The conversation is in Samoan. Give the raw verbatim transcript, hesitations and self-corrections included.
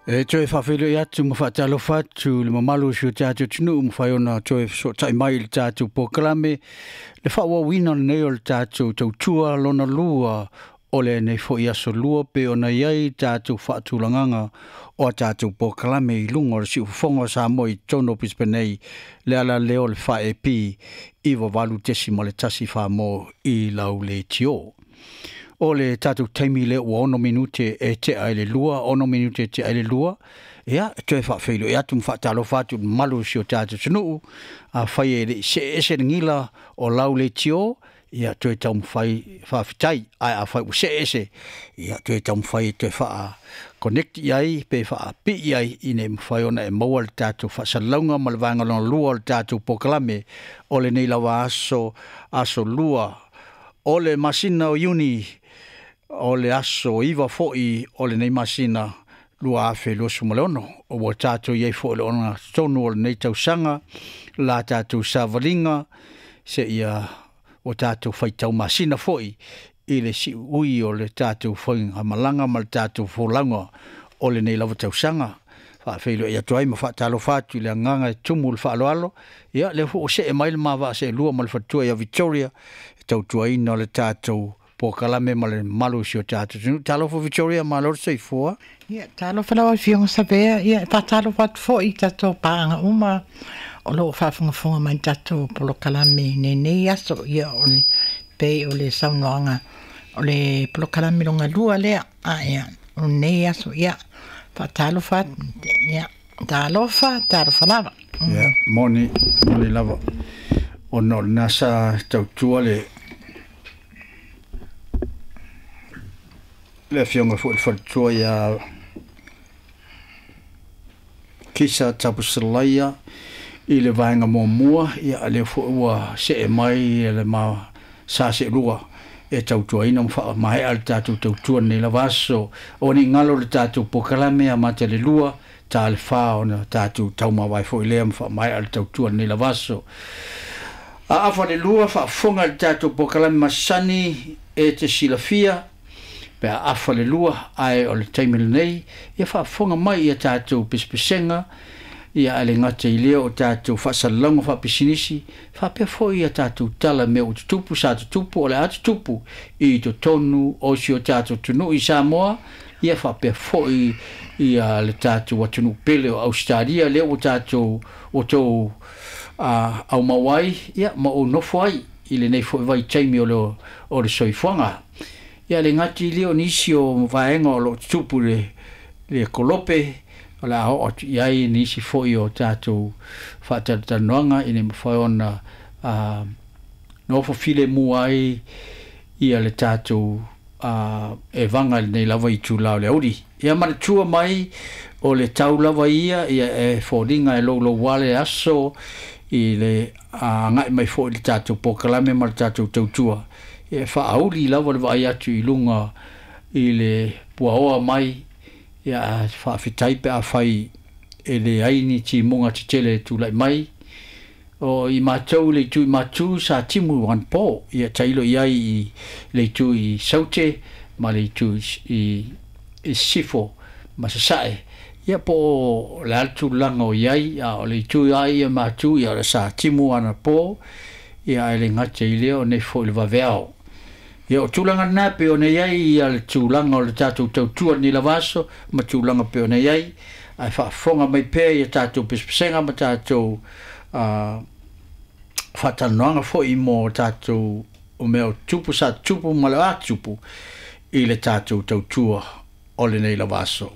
E toe faafeiloai atu ma faatalofa atu le mamalu o si o tatou atunuu ma fai ona toe fesootai mai i le tatou polokalame le faaauauina lenei o le tatou tautua lona lua o lenei foi aso lua pe ona i ai tatou faatulagaga o a tatou polokalame i luga o le siufofoga o Samoa i totonu o Brisbane nei le ala lea o le fa E P iva valu tesima le tasi Samoa i lau leitio. O le tatou taimi lea ua ono minute e tea i le lua, ono minute e tea i le lua, ia, toe faafeiloai atu ma faatalofa atu i le mamalu o si o tatou atunuu, afai e le i see ese le gila o lau leitio, ia, toe taumafai faafetai, ae afai ua see ese, ia, toe taumafai e toe faa connect i ai, pe faapii ai, ina ia mafai ona e maua le tatou faasalalauga ma le vaega lona lua o le tatou polokalame o lenei lava aso, aso lua o le masina o Iuni, o le aso iva foi o lenei masina lua afe luasu ma le ono. O ua tatou i ai foi le ona tonu o lenei tausaga, la tatou savaliga, se ia ua tatou faitau masina foi i le siui o le tatou faigamalaga ma le tatou folauga o lenei lava tausaga. Faafeiloai atu ai ma faatalofa atu i le agaga e tumu le faaaloalo, ia lea foi ua see mai le mavaa seelua ma le faletua ia Victoria, e tautuaina o le tatou polokalame ma le mamalu o si o tatou atunuu. Talofa Victoria, malo le soifua. Ia, talofa lau Afioga Savea, ia, faatalofa atu foi i tatou paaga uma o loo faafogafoga mai tatou polokalame i lenei aso. Ia, o le pei o le saunoaga o le polokalame longa lua lea, a ia, o lenei aso, ia, faatalofa atu, ia, talofa, talofa lava. Ia, moni, moni lava. Ona o lena sa tautua le le afioga foi le faletua ia Kisa Tapusalaia i le vaega muamua, ia lea foi ua see mai le ma sa seelua e tautuaina ma faamaea le tatou tautua lenei lava aso. O ni galo le tatou polokalame a mata le lua, ta le fa ona tatou taumavae foi lea ma faamaea le tautua lenei lava aso. A afa le lua faafofoga le tatou polokalame masani e te silafia, pe a afa le lua, ae o le taimi lenei, ia faafofoga mai ia tatou pesepesega, ia a le gata i lea o tatou faasalalauga faapisinisi, faapea foi ia tatou tala mea ua tutupu, sa tutupu, o le a tutupu i totonu o si o tatou atunuu i Samoa, ia faapea foi ia le tatou atunuu pele o Australia, lea ua tatou o tou aumau ai, ia ma ou nofo ai i lenei foi vaitaimi o le, o le soifuaga. Ia le gati lea o nisi o vaega o loo tutupu le, le kolope, o le a oo atu i ai nisi foi o tatou faatalatalanoaga ina ia mafai ona uh, nofo filemu ai ia le tatou uh, e vaga i lenei lava itula o le auli. Ia manatua mai o le tau lava ia, ia e foliga e louloua le aso i le agai mai foi i le tatou polokalame ma le tatou tautua. E faauli lava le vaai atu i luga i le puaoa mai, ia faafetai pe afai e leai ni timuga tetele e tulai mai. O i matou le itu i matu sa timu anapo, ia tailo i ai i le itu i Saute ma le itu i, i Sifo ma Sasae. Ia po o le a le tulaga o i ai, a o le itu ai ia matu, ia o le sa timu anapo, ia e le gata i lea o nei foi le vaveao. Ia o tulaga lena pe ona i ai ia le tulaga o le tatou tautua lenei lava aso ma tulaga pe ona i ai, ae faafofoga mai pea ia tatou pesepesega ma tatou uh, faatalanoaga foi mo tatou o mea o tupu sa tupu ma le a tupu i le tatou tautua o lenei lava aso.